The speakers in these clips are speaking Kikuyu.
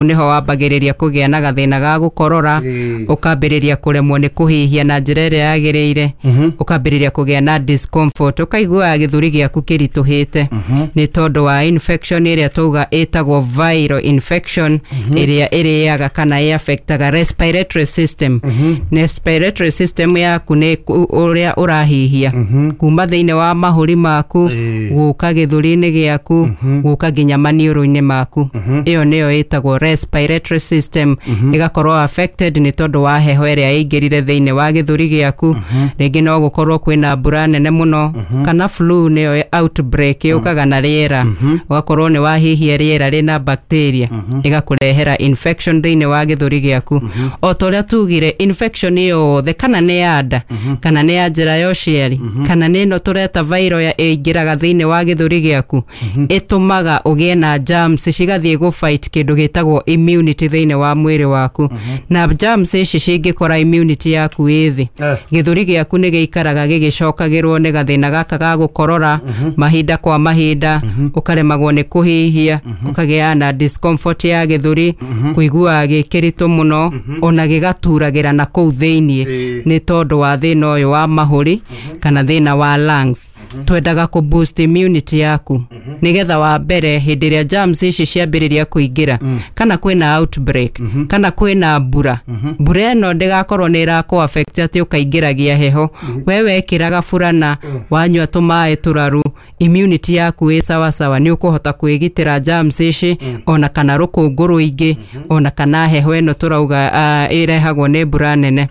Nĩho wambagĩrĩria kũgĩa na gathĩna ga gũkorora, ũkambĩrĩria kũremwo nĩ kũhihia na njĩra ĩrĩa yagĩrĩire, ũkambĩrĩria kũgĩa na discomfort, ũkaiguaga gĩthũri gĩaku kĩritũhĩte nĩ tondũ wa infection ĩrĩa tauga ĩtagwo viral infection, ĩrĩa ĩrĩaga kana ĩ-affectaga respiratory system. Respiratory system yaku nĩ ũrĩa ũrahihia kuma thĩinĩ wa mahũri maku gũka gĩthũri-inĩ gĩaku, gũka nginya maniũrũ-inĩ maku. Ĩyo nĩyo ĩtagwo respiratory system. Ĩgakorwo affected nĩ tondũ wa heho ĩrĩa ĩingĩrire thĩinĩ wa gĩthũri gĩaku. Rĩngĩ no gũkorwo kwĩna mbura nene mũno, kana flu nĩyo outbreak yũkaga na rĩera, ũgakorwo nĩ wahihia rĩera rĩna bacteria, ĩgakũrehera infection thĩinĩ wa gĩthũri gĩaku. O ta ũrĩa tugire, infection yothe, kana nĩ ya nda, kana nĩ ya njĩra ya ũciari, kana nĩ ĩno tũreta viral ya ĩingĩraga thĩinĩ wa gĩthũri gĩaku, ĩtũmaga ũgĩe na germs cigathiĩ gũ fight kĩndũ gĩtagwo immunity thĩinĩ wa mwĩrĩ waku. Na germs ici cingĩkora immunity yaku ĩ thĩ, gĩthũri gĩaku nĩ gĩikaraga gĩgĩcokagĩrwo nĩ gathĩna gaka ga gũkorora mahinda kwa mahinda, ũkaremagwo nĩ kũhihia, ũkagĩa na discomfort ya gĩthũri, kũiguaga gĩ kĩritũ mũno, ona gĩgaturagĩra na kũu thĩiniĩ, nĩ tondũ wa thĩna ũyũ wa mahũri kana thĩna wa lungs. Twendaga kũ boost immunity yaku nĩgetha wa mbere, hĩndĩ ĩrĩa germs ici ciambĩrĩria kũingĩra, kana kwĩna outbreak, kana kwĩna mbura, mbura ĩno ndĩgakorwo nĩ ĩrakũ affect atĩ ũkaingĩragia heho. We wekĩraga burana, wanyua tũmaĩ tũraru, immunity yaku ĩ sawasawa, nĩ ũkũhota kwĩgitĩra germs ici, ona kana rũkũngũ rũingĩ, ona kana heho ĩno tũrauga ĩrehagwo nĩ mbura nene,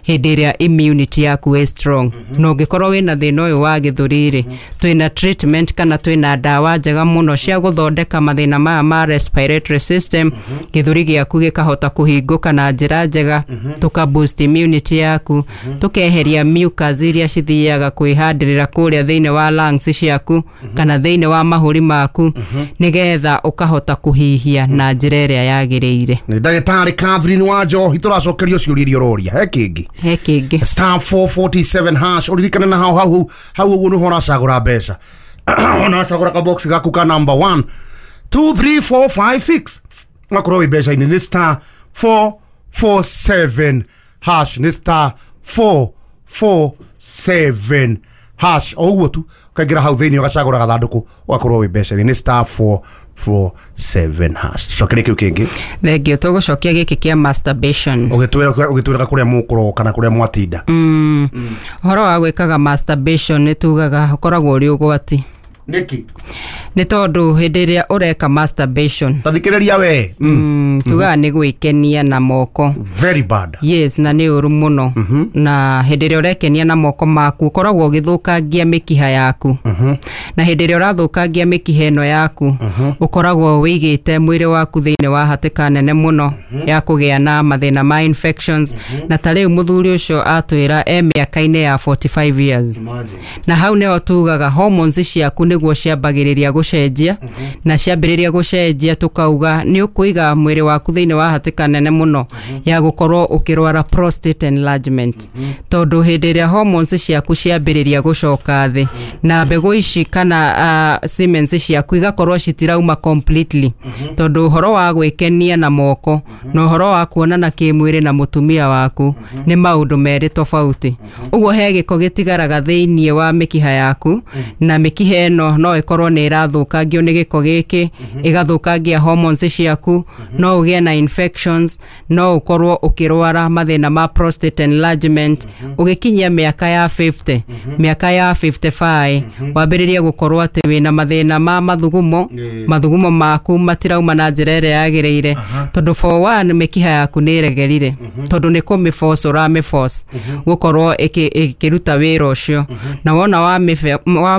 hĩndĩ ĩrĩa immunity yaku ĩ strong. Na ũngĩkorwo wĩna thĩna ũyũ wa gĩthũri rĩ, twĩna treatment kana twĩna ndawa njega mũno cia gũthondeka mathĩna maya ma respiratory system, gĩthũri gĩaku gĩkahota kũhingũka na njĩra njega, tũka boost immunity yaku, tũkeheria mucus iria cithiaga kwĩhandĩrĩra kũrĩa thĩinĩ wa lungs ciaku kana thĩinĩ wa mahũri maku, nĩgetha ũkahota kũhihia na njĩra ĩrĩa yagĩrĩire. Nĩ ndagĩtarĩ Catherine wa Njohi tũracokerio ciũria iria ũroria. He kĩngĩ? He kĩngĩ. *447#. Ũririkane na hau hau hau ũguo nĩho ũracagũra mbeca, ũracagũra kabox gaku ka number 1, 2, 3, 4, 5, 6, ũgakorwo wĩ mbeca-inĩ. Nĩ *447#, nĩ *447#. O ũguo tu ũkaingĩra hau thĩinĩ, ũgacagũra gathandũkũ, ũgakorwo wĩ mbeca-inĩ. Nĩ *447#. Tucokerie kĩu kĩngĩ. Thengio. Tũgũcokia gĩkĩ kĩa masturbation. Ũgĩtwĩraga kũrĩa mũkũroka kana kũrĩa mwatinda. Ũhoro wa gwĩkaga masturbation nĩ tugaga ũkoragwo ũrĩ ũgwati. Nĩkĩ? Nĩ tondũ hĩndĩ ĩrĩa ũreka masturbation, tathikĩrĩria we. Tugaga nĩ gwĩkenia na moko. Very bad. Yes, na nĩ ũru mũno. Na hĩndĩ ĩrĩa ũrekenia na moko maku, ũkoragwo ũgĩthũkangia mĩkiha yaku, na hĩndĩ ĩrĩa ũrathũkangia mĩkiha ĩno yaku, ũkoragwo wĩigĩte mwĩrĩ waku thĩinĩ wa hatĩka nene mũno ya kũgĩa na mathĩna ma infections. Na ta rĩu mũthuri ũcio atwĩra e mĩaka-inĩ ya 45 years, na hau nĩho tugaga hormones ciaku nĩguo ciambagĩrĩria gũcenjia, na ciambĩrĩria gũcenjia, tũkauga nĩ ũkũiga mwĩrĩ waku thĩinĩ wa hatĩka nene mũno ya gũkorwo ũkĩrwara prostate enlargement, tondũ hĩndĩ ĩrĩa hormones ciaku ciambĩrĩria gũcoka thĩ, na mbegũ ici kana semen ciaku igakorwo citirauma completely, tondũ ũhoro wa gwĩkenia na moko na ũhoro wa kuonana kĩmwĩrĩ na mũtumia waku nĩ maũndũ merĩ tofauti. Ũguo he gĩko gĩtigaraga thĩinĩ wa mĩkiha yaku, na mĩkiha ĩno no ĩkorwo nĩ ĩrathũkangio nĩ gĩko gĩkĩ, ĩgathũkangia hormones ciaku, no ũgĩe na infections, no ũkorwo ũkĩrwara mathĩna ma prostate enlargement. Ũgĩkinyia mĩaka ya 50, mĩaka ya 55, wambĩrĩrie gũkorwo atĩ wĩna mathĩna ma mathugumo. Mathugumo maku matirauma na njĩra ĩrĩa yagĩrĩire, tondũ for one mĩkiha yaku nĩ ĩregerire, tondũ nĩ kũmĩforce ũramĩforce gũkorwo ĩkĩruta wĩra ũcio. Na wona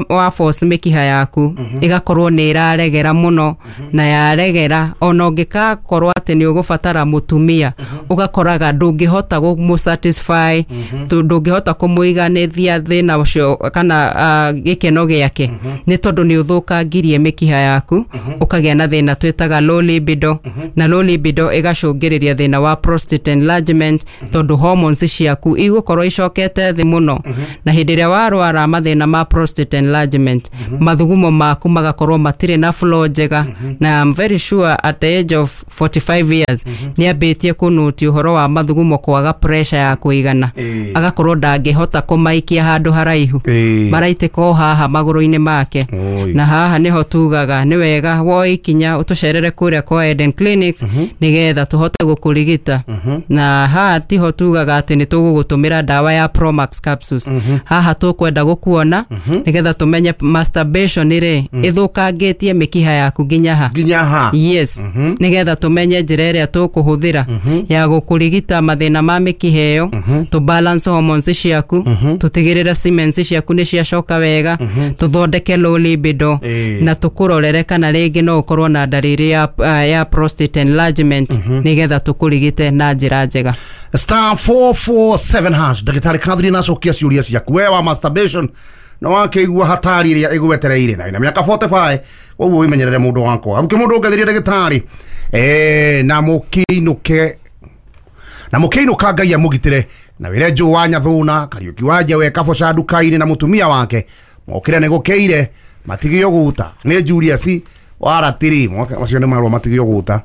wa force mĩkiha yaku, ĩgakorwo nĩ ĩraregera mũno, na yaregera, ona ũngĩkakorwo atĩ nĩ ũgũbatara mũtumia, ũgakoraga ndũngĩhota kũmũ-satisfy, ndũngĩhota kũmũiganĩria thĩna ũcio kana gĩkeno gĩake, nĩ tondũ nĩ ũthũkangirie mĩkiha yaku, ũkagĩa na thĩna twĩtaga low libido. Na low libido ĩgacũngĩrĩria thĩna wa prostate enlargement, tondũ hormones ciaku igũkorwo icokete thĩ mũno. Na hĩndĩ ĩrĩa warwara mathĩna ma prostate enlargement, Mathugumo maku magakorwo matirĩ na flow njega. Na I'm very sure at the age of 45 years nĩ ambĩtie kũnũti ũhoro wa mathugumo kwaga pressure ya kũigana. Agakorwo ndangĩhota kũmaikia handũ haraihu. Maraitĩka o haha magũrũ-inĩ make. Oi. Na haha nĩho tugaga nĩ wega woe ikinya ũtũcerere kũrĩa kwa Eden Clinics nĩgetha tũhote gũkũrigita. Na haha tiho tugaga atĩ nĩ tũgũgũtũmĩra ndawa ya Promax capsules. Haha tũkwenda gũkuona nĩgetha tũmenye masturbation rĩ ĩthũkangĩtie mĩkiha yaku nginya ha. Nginya ha. Yes, nĩgetha tũmenye njĩra ĩrĩa tũkũhũthĩra ya gũkũrigita mathĩna ma mĩkiha ĩyo, tũ balance hormones ciaku, tũtigĩrĩre semen ciaku nĩ ciacoka wega, tũthondeke low libido, na tũkũrorere kana rĩngĩ no ũkorwo na ndariri ya prostate enlargement, nĩgetha tũkũrigite na njĩra njega. Star 447 hash. Ndagĩtarĩ Catherine acokia ciũria ciaku. We wa masturbation na wakĩigua hatari ĩrĩa ĩgwetereire na wĩna mĩaka 45, koguo wĩmenyerere mũndũ wakwa. Abuke mũndũ ũngethirie ndagĩtarĩ na mũkĩinũke na mũkĩinũka, Ngai amũgitĩre na wĩre Njũ wa Nyathũna, Kariũki wa Njewe, Kaboca nduka-inĩ na mũtumia wake mokĩre nĩ gũkĩire matigio guta nĩ Julius wa ratiri macio nĩ marũa matigio guta.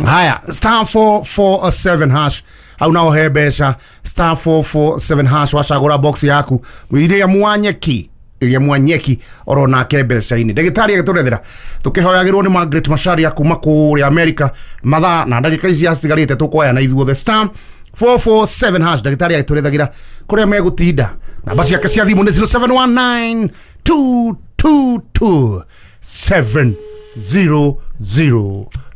Haya, star 447 hash, hau nao he mbeca. Star 447 hash, wacagũra box yaku iria mwanyeki, iria mwanyeki oro nake mbeca-inĩ. Ndagĩtarĩ agĩtũrethera tũkĩhoyagĩrwo nĩ Margaret Macharia kuma kũrĩa America. Mathaa na ndagĩka ici citigarĩte tũkoya na ithuothe. Star 447 hash, ndagĩtarĩ agĩtũrethagĩra kũrĩa megũtinda. Namba ciake cia thimũ nĩ 0719 222 700,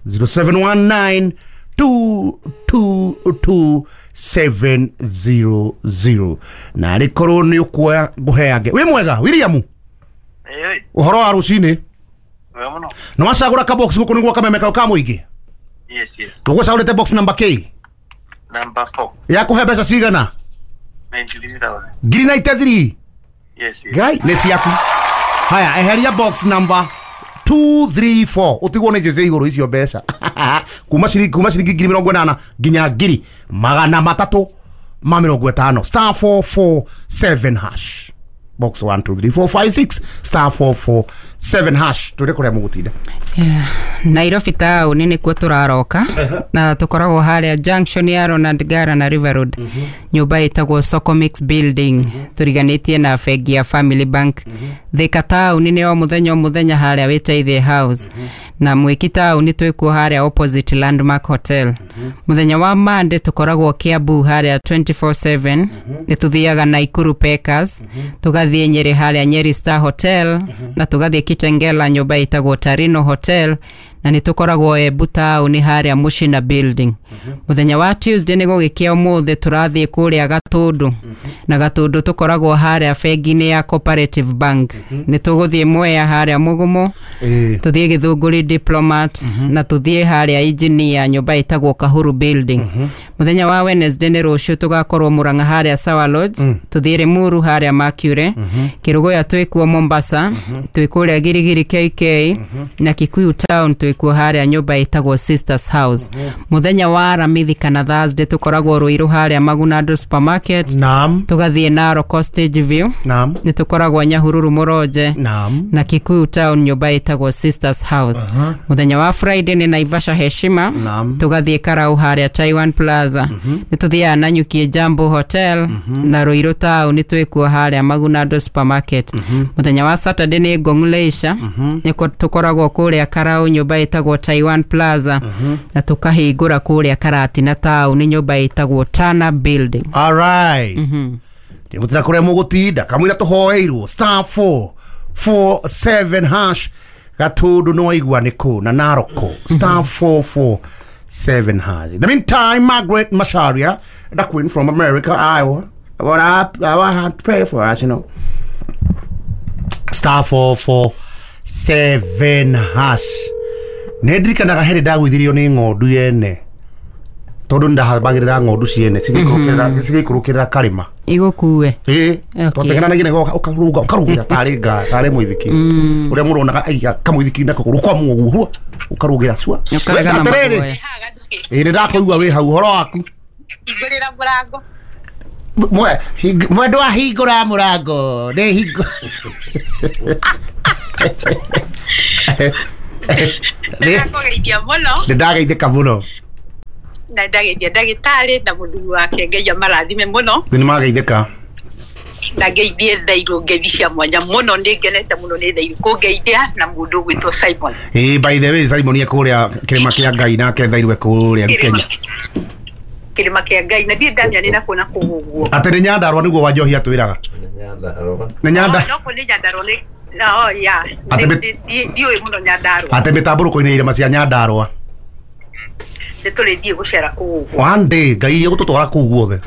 0719 222 700. Na arĩ korwo nĩ ũkuoya ngũheange. Wĩ mwega William? Ĩĩ. Ũhoro wa rũcinĩ? Wega mũno. Nĩ wacagũra kabox gũkũ nĩguo kameme kau ka mũingĩ? Yes. Ũgũcagũrĩte box number K? Number 4. Ya kũhe mbeca cigana? 93,000. Ngiri 93? Yes. Ngai nĩ ciaku. Haya, eheria box number 234, ũtigwo nĩ icio cia igũrũ icio mbeca kuma ciringi 80,000 nginya 350,000. Star 447 hash, box 1 2 3 4 5 6, star 447 hash. Tũrĩ kũrĩa mũgũtinda. Yeah. Nairobi taũni nĩkuo tũraroka na tũkoragwo harĩa junction ya Ronald Ngara na River Road, nyũmba ĩtagwo Socomix Building, tũriganĩtie na bengi ya Family Bank. Thika taũni nĩ o mũthenya o mũthenya harĩa Wĩteithie House, na Mwĩki taũni twĩkuo harĩa opposite Landmark Hotel. Mũthenya wa Monday tũkoragwo Kiambu harĩa 24/7. Nĩ tũthiaga Naikuru Packers, tũgathiĩ Nyeri harĩa Nyeri Star Hotel, na tũgathiĩ Kitengela nyũmba ĩtagwo Tarino Hotel, na nĩ tũkoragwo Embu taũni harĩa Mushina Building. Mũthenya wa Tuesday, nĩ gũgĩkĩa ũmũthĩ, tũrathiĩ kũrĩa Gatũndũ, na Gatũndũ tũkoragwo harĩa bengi-inĩ ya Cooperative Bank. Nĩ tũgũthiĩ Mwea harĩa Mũgumo, tũthiĩ Gĩthũngũri Diplomat, na tũthiĩ harĩa Engineer nyũmba ĩtagwo Kahuru Building. Mũthenya wa Wednesday, nĩ rũciũ, tũgakorwo Murang'a harĩa Sawa Lodge, tũthiĩ Limuru harĩa Mercury, Kĩrũgũya twĩkuo, Mombasa twĩ kũrĩa Girigiri KK, na Kikuyu Town twĩkuo harĩa nyũmba ĩtagwo Sisters House. Mũthenya wa Aramithi kana Thursday tũkoragwo Ruiru harĩa Magunando Supermarket, tũgathiĩ Narok Stage View, nĩ tũkoragwo Nyahururu Mũronje, na Kikuyu Town nyũmba ĩtagwo Sisters House. Mũthenya wa Friday nĩ Naivasha Heshima, tũgathiĩ Karau harĩa Taiwan Plaza, nĩ tũthiaga Nanyuki Jambo Hotel, na Ruiru Town nĩ twĩkuo harĩa Magunando Supermarket. Mũthenya wa Saturday nĩ Ngong Leisure, nĩ tũkoragwo kũrĩa Karau nyũmba ĩtagwo Taiwan Plaza, na tũkahingũra kũrĩa Karatina Town nyũmba ĩtagwo Tana Building. Alright, ndĩmũtira kũrĩa mũgũtinda kamũira tũhoeirwo. Star 447 hash, Gatũndũ nĩ waigua nĩ kũ na Naroko, star 447 hash. In the meantime, Margaret Macharia, the queen from America, Iowa, what I want to pray for us. Star 447 hash. Nĩ ndirikanaga hĩndĩ ndagũithirio nĩ ng'ondu yene tondũ nĩndahambagĩrĩra ng'ondu ciene cigĩikũrũkĩrĩra karĩma. Igũkue. Ĩĩ. Twatengeranagia nĩguo ũkarũga ũkarũgĩra tarĩ nga tarĩ mũithikiri ũrĩa mũndũ onaga aiga kamũithikiri nako kũgũrũ kwa mũguo ũkarũgĩra cua. Ũkarega na Atĩrĩrĩ, maguoya. ĩĩ, nĩ ndakũigua wĩ hau. Ũhoro waku? Hingũrĩra mũrango. Mwendwa hingũra mũrango nĩ hingo. Ndakũgeithia mũno. Nĩ ndageithĩka mũno. Na ndageithia ndagĩtarĩ na mũthuri wake, Ngai amarathime mũno. Nĩ mageithĩka. Na ngeithie Thairũ ngeithi cia mwanya mũno, nĩ ngenete mũno nĩ Thairũ kũngeithia na mũndũ ũgwĩtwo Simon. Ĩĩ, by the way, Simon e kũrĩa kĩrĩma kĩa Ngai, nake Thairũ e kũrĩa Kenya. Kĩrĩma kĩa Ngai, na ndirĩ ndamenya nĩ nakuona kũu ũguo. Atĩ nĩ Nyandarũa nĩguo Wanjohi atwĩraga. Nĩ Nyanda. No kũ nĩ Nyandarũa nĩ no ya. Ndiũĩ mũno Nyandarũa. Atĩ mĩtambũrũko-inĩ ya irĩma cia Nyandarũa. Nĩ tũrĩthiĩ gũcera kũu ũguo. One day Ngai egũtũtwara kũu guothe.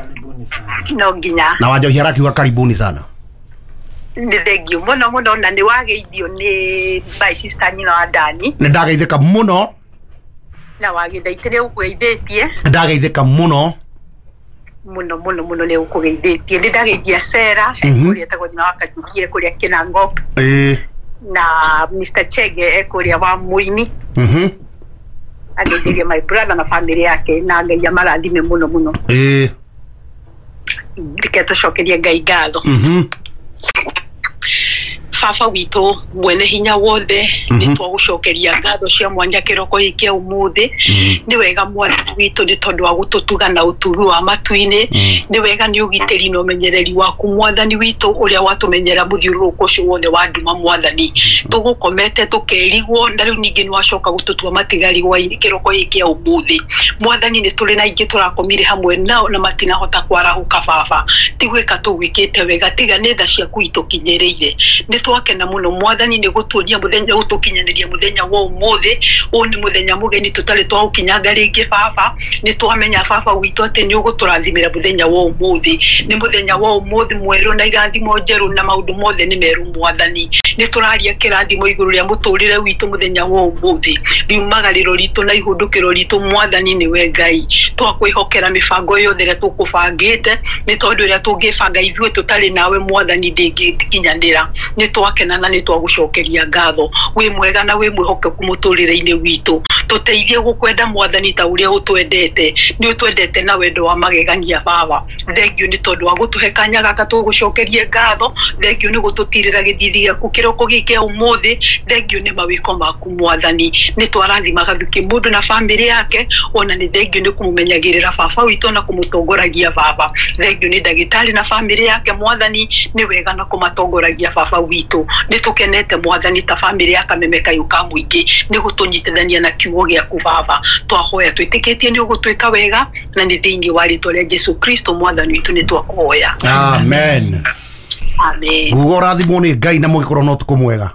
No nginya. Na Wanjohi arakiuga karibuni sana. Nĩ thengio mũno mũno, na nĩ wageithio nĩ my sister nyina wa Dani. Nĩ ndageithĩka mũno. Na wagĩthaitĩre ũkũgeithĩtie. Nĩ ndageithĩka mũno. Mũno mũno mũno nĩ ũkũgeithĩtie. Nĩ ndageithia Sera kũrĩa etagwo nyina wa Kajukie kũrĩa Kinangop. Na Mr Chege e kũrĩa wa Mũini. Ageithirie my brother na family yake, na Ngai amarathime mũno mũno. Reke tũcokerie Ngai ngatho. Baba witũ mwene hinya wothe, nĩ twagũcokeria ngatho cia mwanya kĩroko gĩkĩ kĩa ũmũthĩ. Nĩ wega Mwathani witũ nĩ tondũ wa gũtũtuga na ũtugi wa matu-inĩ. Nĩ wega nĩ ũgitĩri na ũmenyereri waku Mwathani witũ ũrĩa watũmenyera mũthiũrũrũko ũcio wothe wa nduma Mwathani. Tũgũkomete tũkerigwo, na rĩu ningĩ nĩ wacoka gũtũtua matigari hwaĩ-inĩ kĩroko gĩkĩ kĩa ũmũthĩ. Mwathani nĩ tũrĩ na aingĩ tũrakomire hamwe nao na matinahota kwarahũka baba. Ti gwĩka tũgwĩkĩte wega, tiga nĩ tha ciaku itũkinyĩrĩire. Nĩ twakena mũno Mwathani nĩ gũtuonia mũthenya, gũtũkinyanĩria mũthenya wa ũmũthĩ. Ũyũ nĩ mũthenya mũgeni tũtarĩ twaũkinyanga rĩngĩ baba. Nĩ twamenya baba witũ atĩ nĩ ũgũtũrathimĩra mũthenya wa ũmũthĩ. Nĩ mũthenya wa ũmũthĩ mwerũ na irathimo njerũ na maũndũ mothe nĩ merũ Mwathani. Nĩ tũraria kĩrathimo igũrũ rĩa mũtũrĩre witũ mũthenya wa ũmũthĩ. Riumagarĩro ritũ na ihũndũkĩro ritũ Mwathani nĩwe Ngai. Twakwĩhokera mĩbango yothe ĩrĩa tũkũbangĩte, nĩ tondũ ĩrĩa tũngĩbanga ithuĩ tũtarĩ nawe Mwathani ndĩngĩkinyanĩra. Nĩ twakena na nĩ twagũcokeria ngatho. Wĩ mwega na wĩ mwĩhokeku mũtũrĩre-inĩ witũ. Tũteithie gũkwenda Mwathani ta ũrĩa ũtwendete. Nĩ ũtwendete na wendo wa magegania baba. Thengio nĩ tondũ wa gũtũhe kanya gaka tũgũcokerie ngatho. Thengio nĩ gũtũtirĩra gĩthithi gĩaku kĩroko gĩkĩ kĩa ũmũthĩ. Thengio nĩ mawĩko maku Mwathani. Nĩ twarathima Gathukĩ mũndũ na bamĩrĩ yake, ona nĩ thengio nĩ kũmũmenyagĩrĩra baba witũ na kũmũtongoragia baba. Thengio nĩ ndagĩtarĩ na bamĩrĩ yake Mwathani, nĩ wega na kũmatongoragia baba witũ. Nĩ tũkenete Mwathani ta bamĩrĩ ya Kameme Kayũ ka mũingĩ nĩ gũtũnyitithania na kiugo gĩaku baba. Twahoya twĩtĩkĩtie nĩ ũgũtwĩka wega, na nĩ thĩinĩ wa rĩtwa rĩa Jesu Kristo Mwathani witũ nĩ twakũhoya. Amen. Amen. Nguga ũrathimwo nĩ Ngai na mũgĩkorwo na ũtukũ mwega.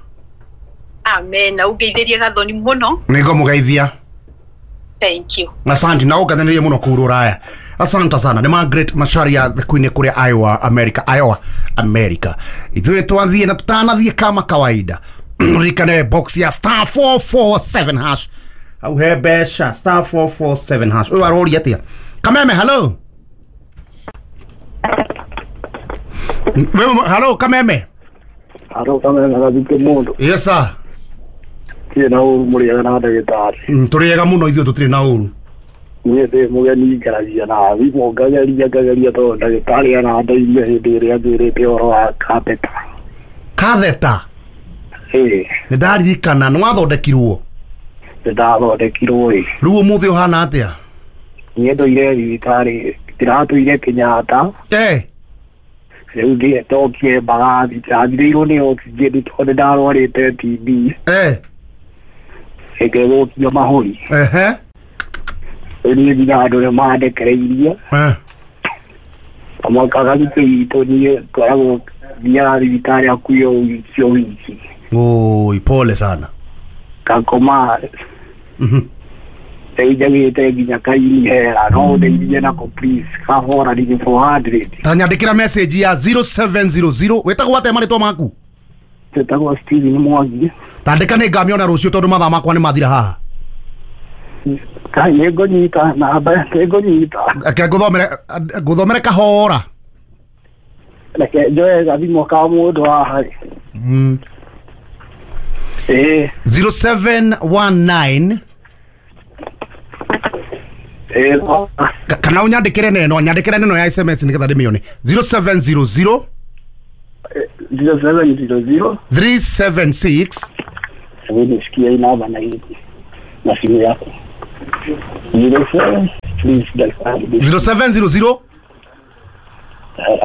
Amen. Na ũngeithĩrie Gathoni mũno. Nĩ ngũmũgeithia. Thank you. Asante na ũngathanĩrie mũno kũu Rũraya. Asante sana. Nĩ Margaret Macharia the Queen kũrĩa Iowa, America. Iowa, America. Ithuĩ twathiĩ na tũtanathiĩ kama kawaida. Ririkane box ya star 447 hash. Hau he mbeca star 447 hash. Ũyũ aroria atĩa? Kameme, hello. Hello Kameme. Hello Kameme, Gathukĩ mũndũ. Yes sir. Tirĩ na ũru mũrĩega na ndagĩtarĩ. Tũrĩega mũno ithuĩ tũtirĩ na ũru. Niĩ ndĩ mũgeni ngaragia na thimũ ngageria tondũ ndagĩtarĩ arandeithia hĩndĩ ĩrĩa anjĩrĩte ũhoro wa katheta. Katheta? Ĩĩ. Nĩ ndaririkana nĩ wathondekirwo. Nĩ ndathondekirwo ĩ. Rĩu ũmũthĩ ũhana atĩa? Niĩ ndũire thibitarĩ, ndĩratũire Kenyatta. Rĩu ndokire Mbagathi, ndathirĩirwo nĩ oxygen tondũ ndarwarĩte TB. Ĩngĩthũkio mahũri. Rĩu niĩ nginya andũ nĩ mandekereirie. Kamwaka Gathukĩ witũ niĩ ngoragwo thiaga thibitarĩ hakuhĩ o wiki o wiki. Oi, pole sana. Ngakoma. Rĩu njagĩte nginya kaini hera, no ũndeithie nako please, kahora nĩ 400. Ta nyandĩkĩra message ya 0700. Wĩtagwo atĩa marĩtwa maku? Njĩtagwo Steven Mwangi. Tandĩka nĩ ngamĩona rũciũ tondũ mathaa makwa nĩ mathira haha. Kai nĩ ngũnyita namba, nĩ ngũnyita. Reke ngũthomere kahora. Reke njoe gathimũ ka mũndũ haha. 0719 Kana ũnyandĩkĩre neno, nyandĩkĩre neno ya SMS nĩgetha ndĩmĩone. 0700 0700 376. Hebu nisikie hii namba na hii na simu yako. 07, please daktari. 0700.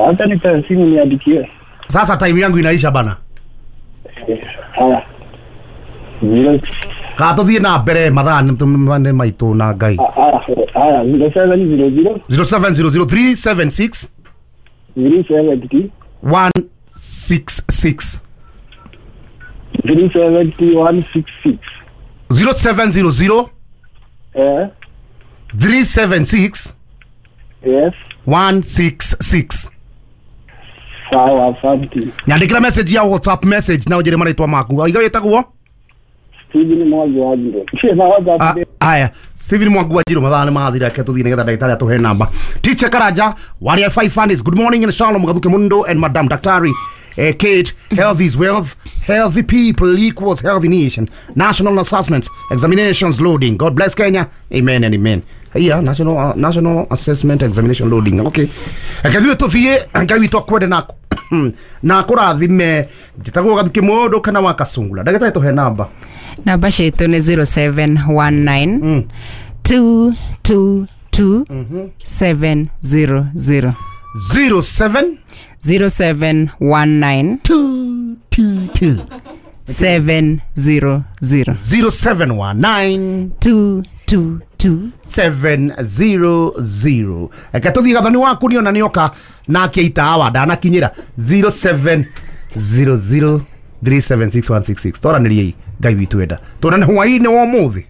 Hata nipe simu niandikie. Sasa time yangu inaisha bana. Haya. 0 Ka tũthiĩ na mbere, mathaa nĩ maitũ na Ngai. Haya, haya, 0700 0700 376 370 166. 370166. 0700 376 Yes. 166. Sawa, asante. Nyandĩkĩra message ya WhatsApp message na ũnjĩre marĩtwa maku. Aiga wĩtagwo? Steven Mwangi wa Njiro. Cheza WhatsApp. Aya, Steven Mwangi wa Njiro, mathaa nĩ mathira, reke tũthiĩ nĩgetha ndagĩtarĩ atũhe namba. Teacher Karanja waria five funnies, good morning and shalom Gathuke Mundo and Madam Daktari Kate. Health is wealth, healthy people equals healthy nation. National assessments examinations loading, God bless Kenya, amen and amen. Yeah, national assessment examination loading. Okay, reke ithuĩ tũthiĩ. Ngai witũ akwende na kũrathime. Njĩtagwo Gathuke Mũndũ kana wa Kasungula. Ndagĩtarĩ, tũhe namba. Namba citũ nĩ 0719 222 700. 07 0719 222 700. 0719 222 700. Reke tũthiĩ. Gathoni waku nĩona nĩoka nake itawa ndanakinyĩra. 0700 376166. Twaranĩriei. Ngai witũ enda tuonane hwaĩ-inĩ wa ũmũthĩ.